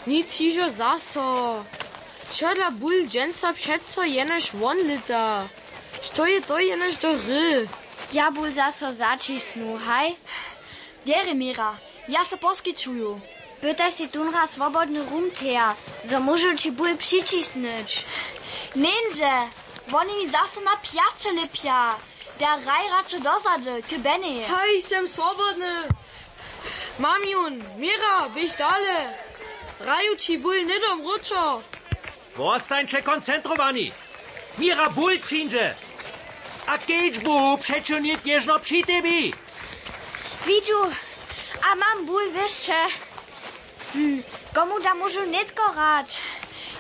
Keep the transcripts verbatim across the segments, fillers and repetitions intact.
Nic hižo zaso. Wčera bul dźensa přeco jenož won lěta. Što je to jenož do hry? Ja bul zaso zaćisnu, haj. Derje, Mira, ja so poskićuju. Pytaj sej tónraz swobodny rum, Thea, zo móžu ći bul přićisnyć. Njeńdźe, woni mi zaso na pjaće lěpja. Da hraj radšo dozady k Benny. Haj, sem swobodny. Mam jón, Mira, běž dale. Hraju ći bul hnydom wróćo. Wostańće koncentrowani. Mira bul přińdźe. A kedźbu přećiwnik něžno při tebi. Widźu, a mam bul wěsće. Hm, komu da móžu nětko hrać?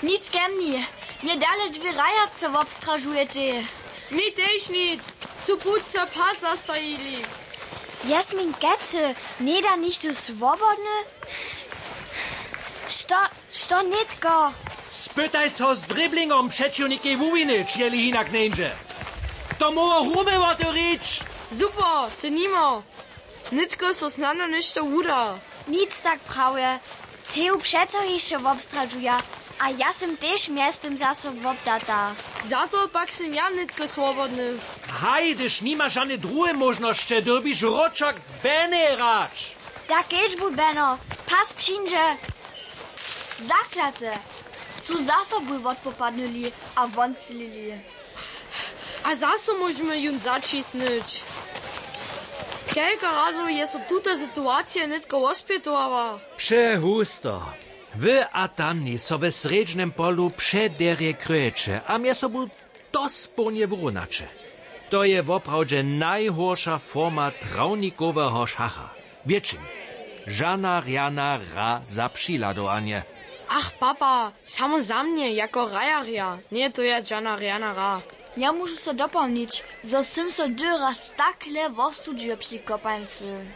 Nic ke mni. Mje dale dwě hrajace wobstražujetej. Mi tež nic. Su putře pas zastajili. Jasmin, kecy, njeda nichtó swobodny? Što, što nětko? Spytaj so z driblingom přećiwnikej wuwinyć, jeli hinak njeńdźe. To móhło rumy wotewrić. Super, sy nimo. Nětko so snano něšto wuda. Nic tak prawje. Teju přeco hišće wobstradźuja, a ja sym tež mjeztym zaso wobdata. Za to pak sym ja nětko swobodny. Haj, hdyž nimaš žane druhe móžnosće, dyrbiš wróćo k Benny hrać. Da kedźbu, Beno, pas přińdźe. Zaklate, su zaso bul wotpopadnyli a won sylili. A zaso móžemy jón zaćisnyć. Kelko razow je so tuta situacija nětko wospjetowała? Přehusto. Wy a tamni so w srjedźnym polu přederje kryjeće a mjez sobu dospołnje wurunjaće. To je woprawdźe najhorša forma trawnikoweho šacha. Wětšin. Žana rjana hra za přiladowanje. Ach, papa, samo za mnje jako hrajarja njeje to ja žana rjana hra. Ja móžu so dopołnić, zo sym so dyrje raz takle wostudźił při kopańcy.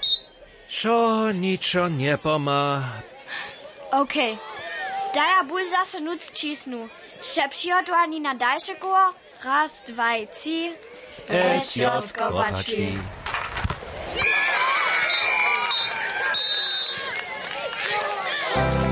Wšo ničo njepomha. Okej. Da ja bul zaso nutř ćisnu. Sće přihotowani na dalše koło? Raz, dwaj, tři. S J kopački.